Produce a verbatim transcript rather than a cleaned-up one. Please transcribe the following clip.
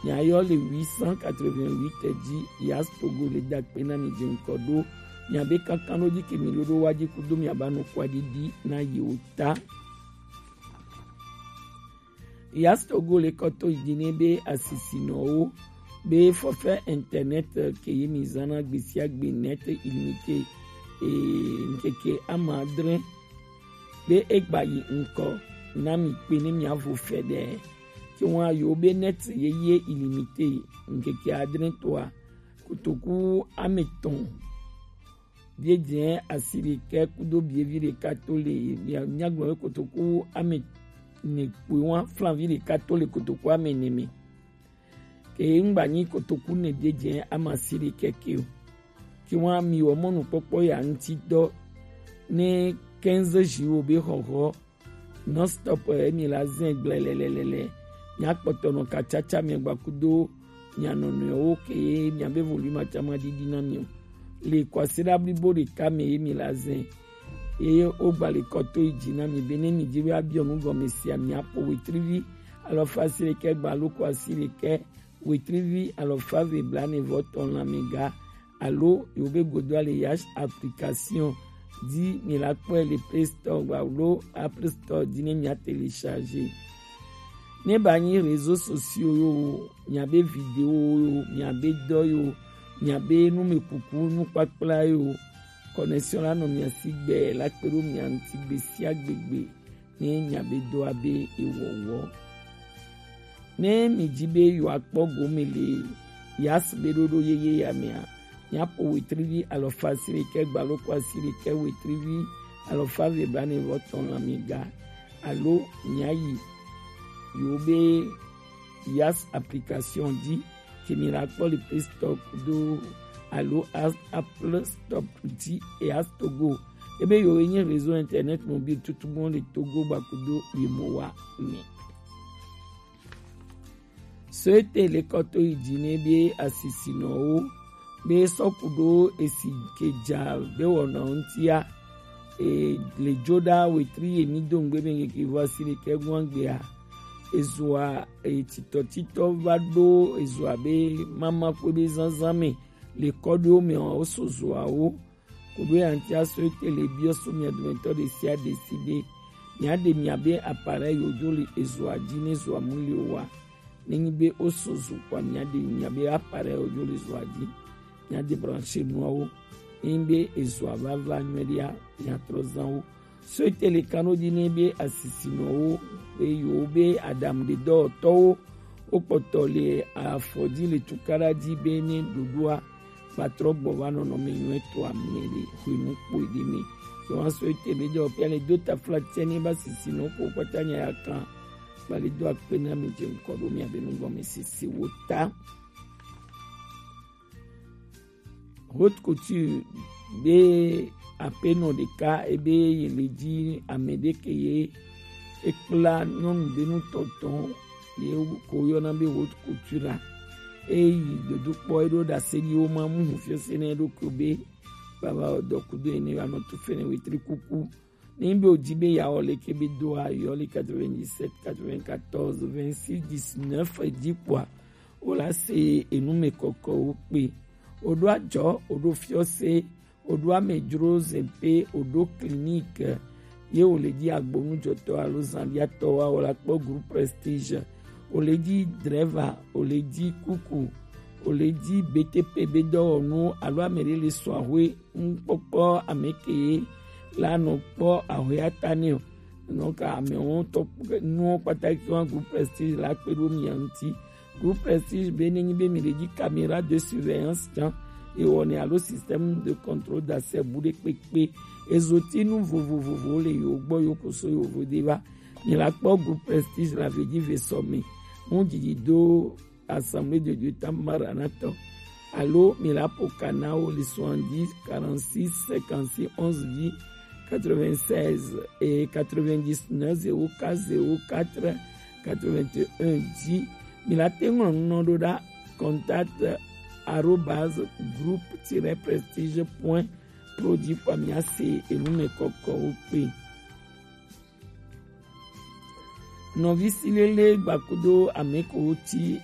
Miayɔ le huit cent quatre-vingt-huit ji, Yas Togo le da akpe na mi ji ŋkɔ ɖo miabe kankandoji ke mi ɖo ɖo wa ji kudo miaba nɔ kwadiɖi na yewo ta. Yas Togo le kɔ to yi ji ne be asisinɔwo be forfait internet ke ye mi zan na gbesiagbe net illimité, e, ŋkeke ama adre be egba yi ŋkɔ na mi kpe ne miavo fɛɖɛ. Ke wa yo be net yeye illimité ŋkeke adre toa, kotoku ame etɔ̃, biejɛ asi ɖekɛ kudo bievi ɖeka to le, mia-, miagblɔ be kotoku ame ene kpoe wa flanvi ɖeka to le kotoku ame ene me. Ke ŋgba nyi kotoku ene biejɛ ame asi ɖekɛ ke o. Ke wa mi wɔ mɔnukpɔkpɔ ya ŋuti dɔ ne quinze jours be xɔxɔ non stop, eh, mi la zɛn gblɛlɛlɛlɛ. Mia kpɔtɔ nɔ katsatsa mi gba kudo mia nɔnɔewo ke mia be volume atsama didi na mi o. Le kwasiɖa blibo ɖeka me ye mi la zɛn. Ye wo gba le kɔ to yi ji na mi be ne mi ji be abiɔ nu gɔme sia mi apo wetrivi alɔfa asi ɖekɛ gba loko asi ɖekɛ wetrivi alɔfa eve blaene vɔ tɔn lanmɛga alo yewo be godo ale Yash application di mi la kpɔe le Play Store gba alo Apple Store di ne mia télécharger. Ne ba nyi réseaux sociaux yo o, mia be vidéo yo, mia be dɔ yo, mia be numekuku nukpakpla yo, connexion la nɔ mia si gbɛ la kpe ɖo mia ŋuti gbe sia gbe gbe. Ne mia be dɔ abe ewɔwɔ. Ne mi ji be yewoa kpɔ gome le Yas be ɖoɖo yeye ya mea, mia po wetrivi alɔfa asi ɖekɛ gba loko asi ɖekɛ wetrivi alɔfa eve blaene vɔ tɔn lanmɛga alo mia yi yewo be Yas application di ke mi la kpɔ le Play Store kudo alo As-, Apple Store di e Yas Togo. Ebe yewo ye nye réseau internet mobile tutugbɔ le Togo gba kudo Yemowa me. Soete le kɔ to yi ji ne be asisinɔwo be sɔ kudo esi ke ja be wɔna ŋutia, e, le jo ɖa wetri ye mi do ŋgbe be ŋkeke vɔ asi ɖekɛ gɔn gbea, ezoa, e, titɔtitɔ va ɖo ezoa be mama kpe be zanzan me le kɔɖiwo me wo so zoawo. Koɖo ya ŋuti aso ete le biɔ so mia dometɔ ɖe sia ɖe si be mia ɖe mia be appareil yo jo le ezoa ji ne ezoa mu le o wa. Ne nyi be wo so zo kpɔa mia ɖe mia be appareil yo jo le ezoa ji. Mia débrancher nuawo. Ne nyi be ezoa va va nyuie ɖea, mia trɔ zan wo. Soete le kan ɖo ji ne be asisinɔwo be yewo be aɖaŋuɖedɔwɔtɔwo wo kpɔtɔ le afɔ ji le tukaɖa ji be ne ɖoɖoa va trɔ gbɔ va nɔnɔme nyuietɔ ame le hwenu kpoi ɖe me. Yewoa Soete be ɖe ɔpia le do taflatse ne ba sisinɔ ko kpata nya ya kan. Ba le do akpe na mi je ŋkɔ ɖo mia be nugɔmesese wo ta. Haute couture be aƒenɔ ɖeka ebe ye le dzi ame ɖe ke ye ekpla nyɔnu ɖe nu tɔtɔ ye ko yɔna be haute couture la. Eyi dodo kpɔ eɖo ɖase ɖi wo ma mu hu fiɔse ne eɖokui be baba wɔ dɔ kudo ene wa nɔ tu fene wetri kuku. Ne be o di be ya wɔ leke be doa yɔ le quatre-vingt-dix-sept quatre-vingt-quatorze vingt-six dix-neuf dzi kpɔa, o la se enu me kɔkɔwo kpe. O ɖo adzɔ, o ɖo fiɔse, o ɖo amedzro zɛpe, o ɖo clinique, ye o le dzi agbonujɔtɔ alo zanɖiatɔ wa, o la kpɔ groupe Prestige, o le dzi driver, o le dzi kuku, o le dzi B T P be dɔwɔnu alo ame ɖe le sɔ ahwe nukpɔkpɔ ame ke la nɔ kpɔ ahwe ata nɛ o. Donc amewo tɔ nuwo kpata ke wa groupe Prestige la kpe ɖo mia ŋuti. Groupe Prestige be ne nyi be mi le dzi caméra de surveillance tsã, ewɔ ne alo système de contrôle d'accès bu ɖe kpekpe. Ezoti nu vovovovowo le yewo gbɔ yewo ko so yewo vo de va. Mi la kpɔ groupe Prestige la ve dzi ve sɔ me. Mu dzidzi do Assemblée de Dieu Temple Maranatha alo mi la po ka na wo le soixante-dix quarante-six cinquante-six onze dix quatre-vingt-seize et quatre-vingt-dix-neuf zéro quatre zéro quatre quatre-vingt-un dix. Mi la te ŋlɔ nu nɔ ɖo ɖa contact arobase groupe tiret prestige point pro dzi kpɔ mia se enu me kɔkɔwo kpe. Nɔvi silele gbakudo ame ko ti e